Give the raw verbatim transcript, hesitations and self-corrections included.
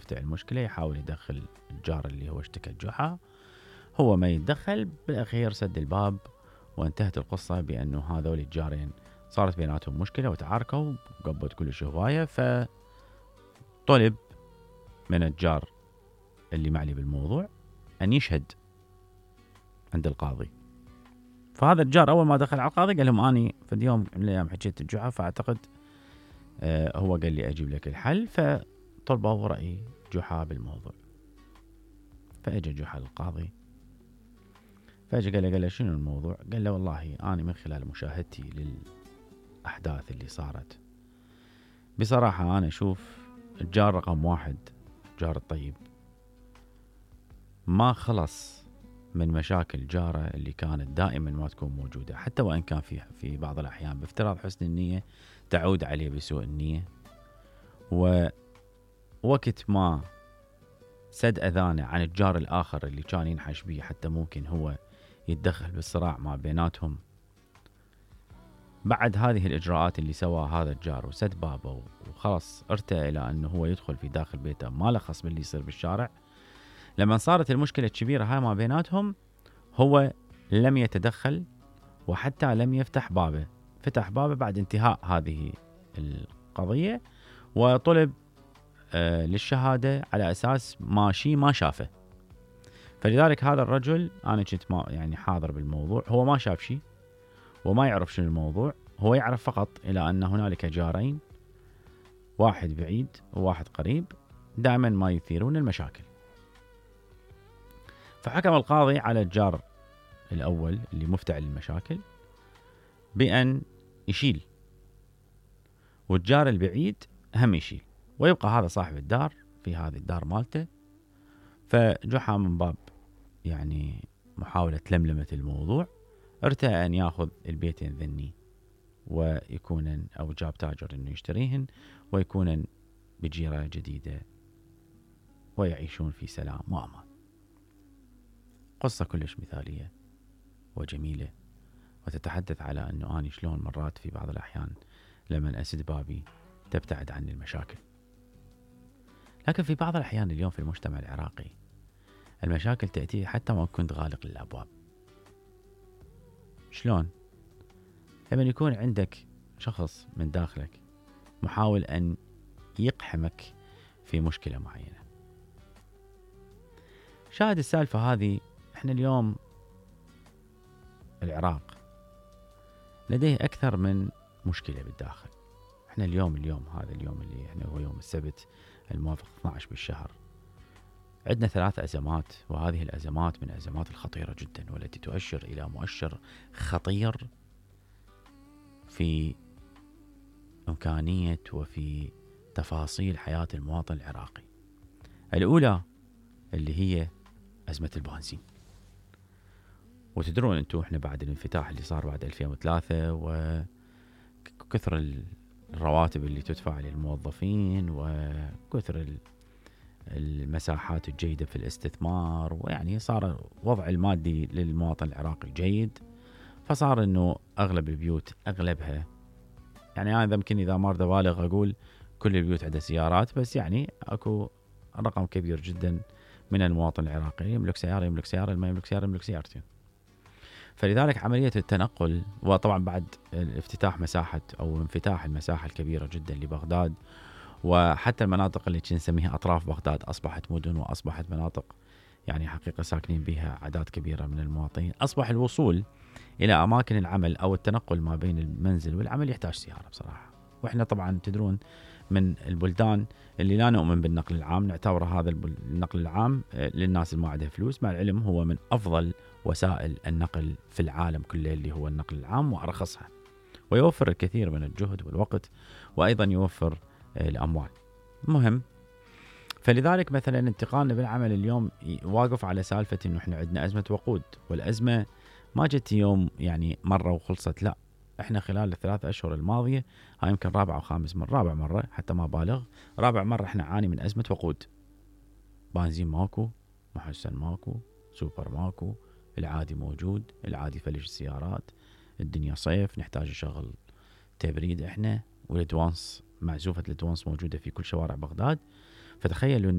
يفتح المشكلة، يحاول يدخل الجار اللي هو اشتكى الجحا، هو ما يتدخل، بالأخير سد الباب وانتهت القصة بأنه هذول الجارين صارت بيناتهم مشكلة وتعاركوا وقبت كلش هواية. فطلب من الجار اللي معلي بالموضوع أن يشهد عند القاضي. فهذا الجار أول ما دخل على القاضي قال لهم أني في اليوم من الأيام حكيت الجحا، فأعتقد آه هو قال لي أجيب لك الحل، فطلبوا رأي جحا بالموضوع. فأجى جحا للقاضي، فأجى قال له قال له شنو الموضوع؟ قال له والله أنا من خلال مشاهدتي للأحداث اللي صارت بصراحة أنا أشوف الجار رقم واحد الجار الطيب ما خلص من مشاكل جاره اللي كانت دائما ما تكون موجودة، حتى وإن كان في في بعض الأحيان بافتراض حسن النية تعود عليه بسوء النية. ووقت ما سد أذانه عن الجار الآخر اللي كان ينحش بيه حتى ممكن هو يتدخل بالصراع ما بيناتهم، بعد هذه الإجراءات اللي سواها هذا الجار وسد بابه وخلاص ارتأى إلى أنه هو يدخل في داخل بيته ما له خص باللي يصير بالشارع، لما صارت المشكلة الكبيرة هاي ما بيناتهم هو لم يتدخل وحتى لم يفتح بابه، فتح بابه بعد انتهاء هذه القضية وطلب آه للشهادة على أساس ماشي ما شافه. فلذلك هذا الرجل أنا كنت ما يعني حاضر بالموضوع، هو ما شاف شيء وما يعرف شنو الموضوع، هو يعرف فقط إلى أن هنالك جارين واحد بعيد وواحد قريب دائما ما يثيرون المشاكل. فحكم القاضي على الجار الأول اللي مفتعل المشاكل بأن يشيل، والجار البعيد هم يشيل، ويبقى هذا صاحب الدار في هذه الدار مالته. فجحا من باب يعني محاولة لملمة الموضوع ارتأى أن يأخذ البيتين ذني ويكونن أو جاب تاجر أنه يشتريهن ويكونن بجيرة جديدة ويعيشون في سلام وأمان. قصة كلش مثالية وجميلة وتتحدث على أنه أنا شلون مرات في بعض الأحيان لما أسد بابي تبتعد عني المشاكل، لكن في بعض الأحيان اليوم في المجتمع العراقي المشاكل تأتي حتى ما كنت غالق للأبواب. شلون؟ لما يكون عندك شخص من داخلك محاول أن يقحمك في مشكلة معينة. شاهد السالفة هذه، احنا اليوم العراق لديه أكثر من مشكلة بالداخل. احنا اليوم اليوم هذا اليوم اللي احنا هو يوم السبت الموافق اثني عشر بالشهر عندنا ثلاث أزمات، وهذه الأزمات من الأزمات الخطيرة جدا والتي تؤشر إلى مؤشر خطير في إمكانية وفي تفاصيل حياة المواطن العراقي. الأولى اللي هي أزمة البنزين، وتدرون أنتم إحنا بعد الانفتاح اللي صار بعد ألفين وثلاثة وكثر الرواتب اللي تدفع للموظفين وكثر المساحات الجيدة في الاستثمار، ويعني صار وضع المادي للمواطن العراقي جيد، فصار أنه أغلب البيوت أغلبها يعني أنا يمكن إذا ما أريد أبالغ أقول كل البيوت عندها سيارات، بس يعني أكو رقم كبير جدا من المواطن العراقي يملك سيارة يملك سيارة ما يملك سيارة يملك سيارتين. فلذلك عملية التنقل، وطبعا بعد افتتاح مساحة أو انفتاح المساحة الكبيرة جدا لبغداد، وحتى المناطق اللي نسميها أطراف بغداد أصبحت مدن وأصبحت مناطق يعني حقيقة ساكنين بها أعداد كبيرة من المواطنين، أصبح الوصول إلى أماكن العمل أو التنقل ما بين المنزل والعمل يحتاج سيارة بصراحة. وإحنا طبعا تدرون من البلدان اللي لا نؤمن بالنقل العام، نعتبر هذا النقل العام للناس اللي ما عندها فلوس، مع العلم هو من أفضل وسائل النقل في العالم كله اللي هو النقل العام وأرخصها، ويوفر الكثير من الجهد والوقت، وأيضا يوفر الأموال. مهم، فلذلك مثلا انتقالنا بالعمل اليوم واقف على سالفة إنه إحنا عندنا أزمة وقود، والأزمة ما جت يوم يعني مرة وخلصت، لا إحنا خلال الثلاث أشهر الماضية هاي يمكن رابع أو خامس مرة رابع مرة حتى ما بالغ رابع مرة إحنا عاني من أزمة وقود. بنزين ماكو، محسن ماكو، سوبر ماكو، العادي موجود، العادي فلش السيارات، الدنيا صيف نحتاج نشغل تبريد إحنا، والأدوانس معزوفة الأدوانس موجودة في كل شوارع بغداد. فتخيلوا